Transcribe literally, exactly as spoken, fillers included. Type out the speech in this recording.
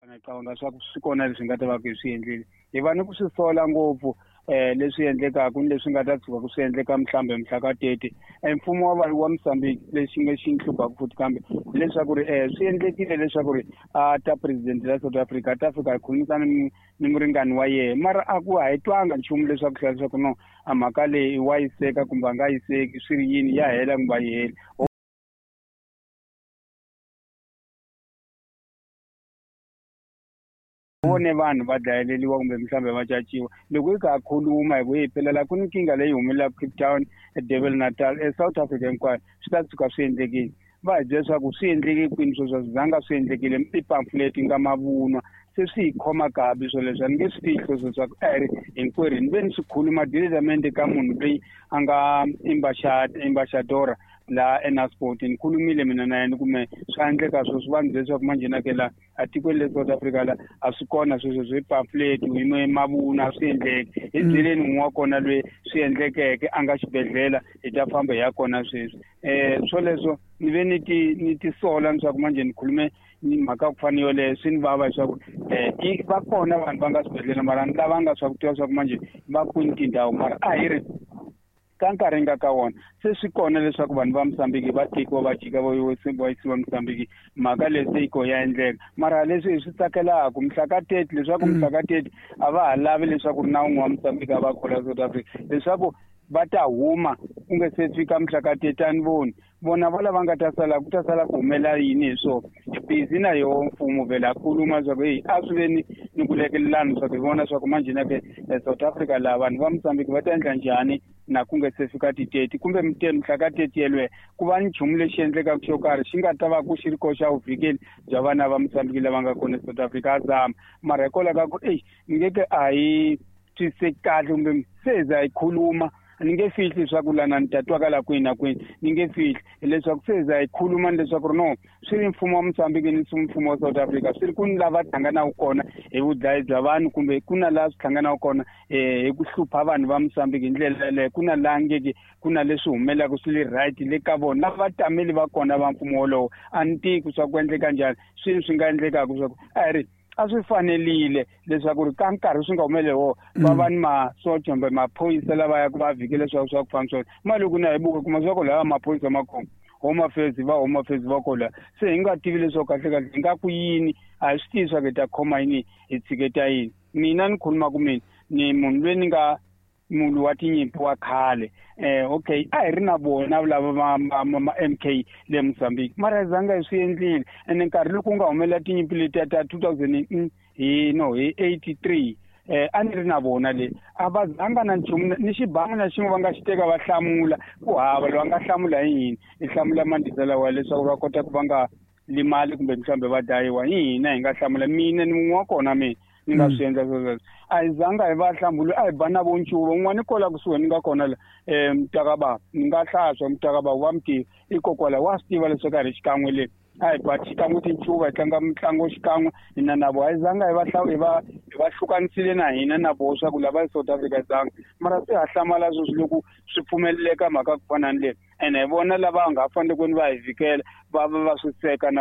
Ngicabanga swa ku swi kona leswi nga ta va ku hi swi endlile hi va ni ku swi sola ngopfu um leswi endlekaka ni leswi nga ta tshuka ku swi endleka mhlawumbe mhla ka thirty mfumo wa wa Mozambique lexi nga xi hluphaku futhi kambe hileswaku ri um swi endlekile leswaku ri a ta president la South Africa a ta fika hi khulumisana ni ni muringani wa yena mara a ku a hi twanga nchumu leswaku hlaya leswaku no a mhaka leyi wa yi seka kumbe a nga yi seki swi ri yini ya hela kumbe a yi heli. Vone vanhu va dlayeleliwa kumbe mhlawumbe va caciwa loko hi kha khuluma hi ku hi phela la ku ni nkingha leyi humelelaka Cape Town eDurban Natal eSouth Africa hinkwayo swi ta tshuka swi endlekile va hi byela leswaku swi endleke kwini sweswo swi zanga swi endlekile i pamphlet nga mavunwa se swi hi khoma kabi swoleswo a ni nge swi fihli sweswo swa ku a hi ri hinkwerhu ni ve ni swi khuluma diretamente ka munhu loyi a nga ambassadora laha eNaspoti ni khulumile mina na yena kume swa endleka sweswo va ni byela leswaku manjhe na ke la a tikweni le South Africa la a swi kona sweswo swi pamphlet hi mavunwa a swi endleki hi byeleni n'we wa kona loyi swi endlekeke a nga xibedhlele hi ta famba hi ya kona sweswi um swoleswo ni ve ni ti ni ti sola leswaku manjhe ni khulume ni mhaka ku fana ni yoleyo swi ni vava leswaku um va kona vanhu va nga swibedhlele mara ni lavanga swa ku tiva swa ku manjhe va kwini tindhawu mara a hi ri ka nkarhi nga ka wona se swi kona leswaku vanhu va Mozambique va tekiwa va jika va va yisiwa Mozambique mhaka leyi se yi ko ya endleka mara leswi hi swi tsakelaka mhla ka thirty leswaku mhla ka thirty a va ha lavi leswaku ri na wun'we wa Mozambique a va khola South Africa leswaku va ta huma ku nge se fika mhla ka thirty a ni voni vona va lava nga ta sala ku ta sala ku humelela yini hi swona hi busy na yoho mfumo vhele a khuluma leswaku heyi a swi ve ni ni ku lekelelana leswaku hi vona leswaku manjhe na ke South Africa laha vanhu va Mozambique va ta endla njhani na ku nge se fika ti-thirty kumbe mhla ka thirty yelweyo ku va ni nchumu lexi endlekaka xo karhi xi nga ta va ku xi ri koxa vuvikeli bya vana va Mozambique lava nga kona eSouth Africa a zama mara hikwalaho ka ku eyi ni nge ke a hi twisiseki kahle kumbe se hi za hi khuluma ni nge fihli leswaku lana ni ta twakala kwihi na kwihi ni nge fihli hileswaku se hi za hi khuluma ni leswaku ri no swi ri mfumo wa Mozambique ni mfumo wa South Africa swi ri ku ni lava hlanganaka kona hi vudlayi bya vanhu kumbe ku na laha swi hlanganaka kona um hi ku hlupha vanhu va Mozambique hi ndlela yaleyo ku na laha ngeke ku na leswi humelelaka swi le right le ka vona lava tameli va kona va mfumo wolowo a ni tivi swa ku endleka njhani swini swi nga endlekaka swa ku a hi ri a swi fanelile leswaku ri ka nkarhi swi nga humeleli wo va va ni masocha kumbe maphorisa lava ya ku va vhikela leswaku swa ku famba swona mali loko na hi buka kuma swa ku lava maphorisa ma kona Home Affairs va Home Affairs va kola se hi nga tivi leswaku kahle kahle hi nga ku yini a hi swi tivi swa ku hi ta khoma yini hi tshiketa yini mina ni khuluma ku mina ni munhu loyi ni nga munhu wa tinyimpi wa khale eh okay a hi ri na vona lava ma ma ma M K le Mozambique mara zanga hi swi endlile ene nkarhi loko ku nga humelela tinyimpi letiya ta two thousand hi no hi eighty-three eh a ni ri na vona le a va zanga na nchumu ni xibangu na xin'we va nga xi teka va hlamula ku hava loyi a nga hlamula hi yini hi hlamula mandisa lawa leswaku va kota ku va nga limali kumbe mhlawumbe va dlayiwa hi hina hi nga hlamula mina ni mun'we wa kona mina ni nga swi endla sweswo a hi zanga hi va hlambulu a hi ba na vo ncuva un'wana kwala kusuhi ni nga kona la um mutakabava ni nga hlaswa mutakabava wa mi tiva ikokwala wa swi tiva leswaku a hi ri xikan'we le a hi ba xikan'we tincuva hi tlanga mitlangu xikan'we hina na vo a hi zanga hi va hi va hi va hlukanisile na hina na voho swa ku lava South Africa zanga mara se ha hlamala sweswi loko swi pfumeleleka mhaka ku fana ni leyi ene hi vona lava nga fanele ku ni va hi vhikela va va va swi seka na.